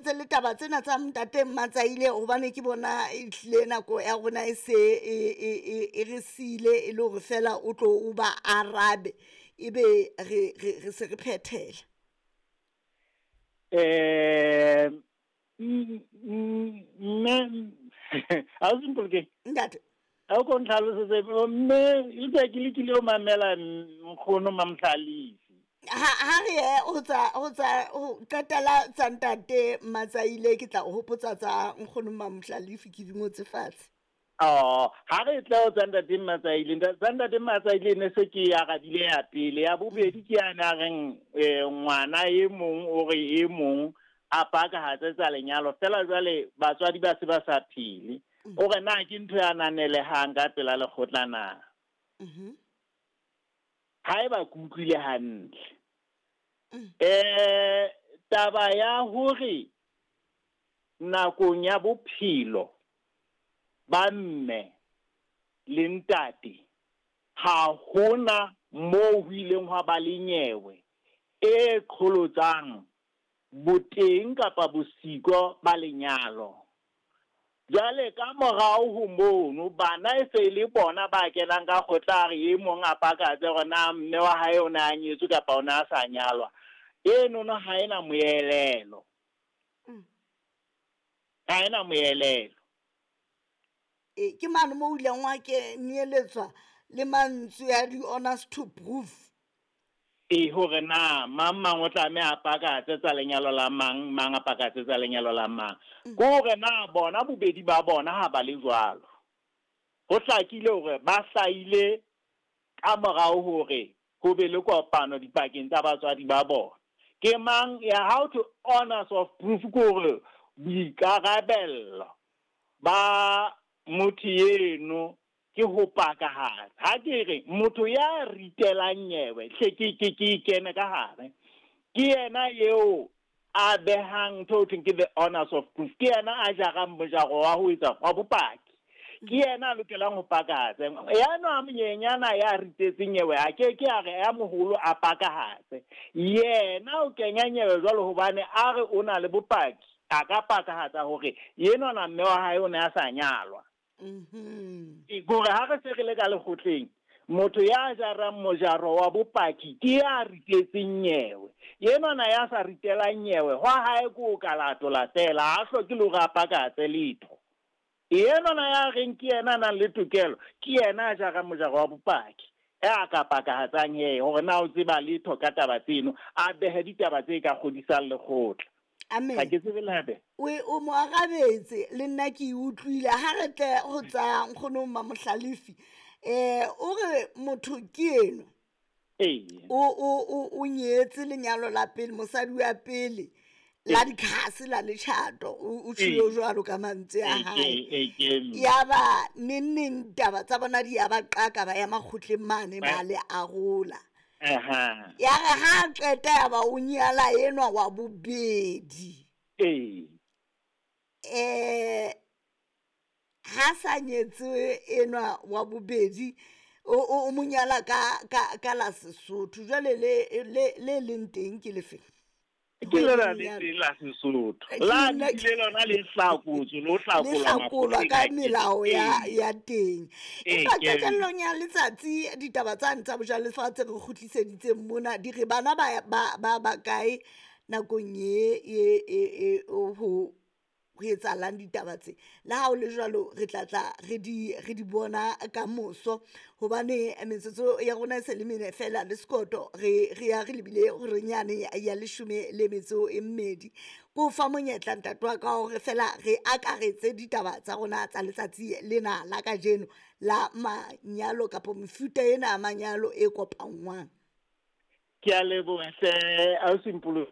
Tse le taba tsena tsa ntate Mmatsaile hobane ke bona e tlile nako ya rona e se e e e e re siile e le hore fela o tlo o ba arabe ebe re re re se re phethela. Mme ausi Mpolokeng. Ntate. A ko ntlhalosetse mme utlwa ke lekile ho mamela nkgono Mamhlalifi. Ha ha re ye ho tsa ho tsa ho qetela tsa ntate Matsaile ke tla o hopotsa tsa nkgono Mamhlalifi ke di ngotse fatshe. Oh, ha re tla ho tsa ntate Matsaile, tsa ntate Matsaile ne se ke arabile ya pele, ya bobedi ke yana a reng ngwana e mong o re e mong a pakahatse tsa lenyalo fela jwale batswadi ba se ba sa phele. O re na ke ntho ya ananelehang ka pela lekgotla na? Haeba ke utlwile hantle. Taba ya hore nakong ya bophelo ba mme le ntate ha hona moo ho ileng hwa ba le nyewe e qholotsang boteng kapa bosiko ba lenyalo. Jwale ka morao ho mono, bana e se e le bona ba kenang ka kgotla a re e mong a pakatse hore na mme wa hae o ne a nyetswe kapa o ne a sa nyalwa. Enono ha ena moelelo. Ha ena moelelo. E, ke mane mo o ileng wa kenyeletswa le mantswe a di-honors to proof. E, hore na mang mang o tlameha a pakatse tsa lenyalo la mang, mang a pakatse tsa lenyalo la mang. Ke hore na bona bobedi ba bona ha ba le jwalo. Ho hlakile hore ba hlahile ka morao hore ho be le kopano dipakeng tsa batswadi ba bona. Ke mang ya how to honors of proof ke hore boikarabello ba motho eno ke ho pakahatsa. Ha ke re motho ya ritelang nyewe hle ke ke ke kene ka hare. Ke yena eo a behang ntho ho thweng ke the honors of proof. Ke yena a jarang mojaro wa ho etsa wa bopaki. Ke yena a lokelang ho pakahatsa. Ya nwa monyenyana ya ritetseng nyewe a ke ke a re ya moholo a pakahatse. Yena o kenya nyewe jwalo hobane a re o na le bopaki. A ka pakahatsa hore enwana mme wa hae o ne a sa nyalwa. Ke hore ha re se re le ka lekgotleng, motho ya jarang mojaro wa bopaki ke ya ritetseng nyewe. Enwana ya sa ritelang nyewe, hwa hae ke o ka latola fela, ha hloke le hore a pakatse letho. Enwana ya reng ke yena a nang le tokelo, ke yena a jarang mojaro wa bopaki. Ya ka pakahatsang he hore na o tseba letho ka taba tseno, a behe ditaba tse ka kgodisang lekgotla. Amen. Ha ke tsebe le hape. O o mo arabetse le nna ke e utlwile ha re tle ho tsa nkgono Mamohlalefi. O re motho ke eno. Ee. O o o o nyetse lenyalo la pele mosadi wa pele la dikhase la letjhato o tjhilo jwalo ka mantswe a hae. Ya ba neng neng taba tsa bona di ya ba qaka ba ya makgotleng mane ba le arola. Ya re ha qeta ya ba o nyala enwa wa bobedi. Ha sa nyetse enwa wa bobedi o mo nyala ka ka ka la Sesotho jwale le le le leng teng ke lefe? Ke lona le teng la Sesotho. La le lona le hlakotswe le ho hlakolwa hlakolwa ka melao ya ya teng. Empa qetellong ya letsatsi ditaba tsane tsa bojalefa tse re kgutliseditseng mona di re bana ba ba ba ba kae nakong e e e ho ho etsahalang ditaba tse. Le ha o le jwalo re tla tla re di re di bona ka moso hobane metsotso ya rona e se le mene fela le sekoto re re ya re lebile horeng yane ya leshome le metso e mmedi. Ko fa monyetla ntate wa ka hore fela re akaretse ditaba tsa rona tsa letsatsi lena la kajeno la manyalo kapa mefuta ena ya manyalo e kopanngwang. Ke a leboha hle ausi Mpolo.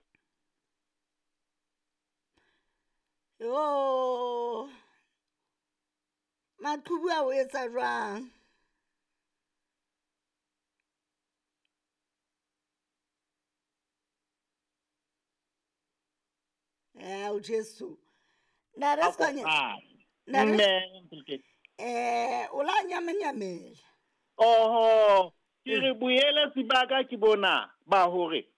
Yo maqhubu a o etsa jwang? Ao Jesu. Nare Sekganya. Nare. O la nyamenyamela. Oho, ke re boeletsi ba ka ke bona ba hore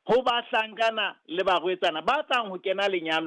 ho bahlankana le barwetsana ba tlang ho kena lenyalong.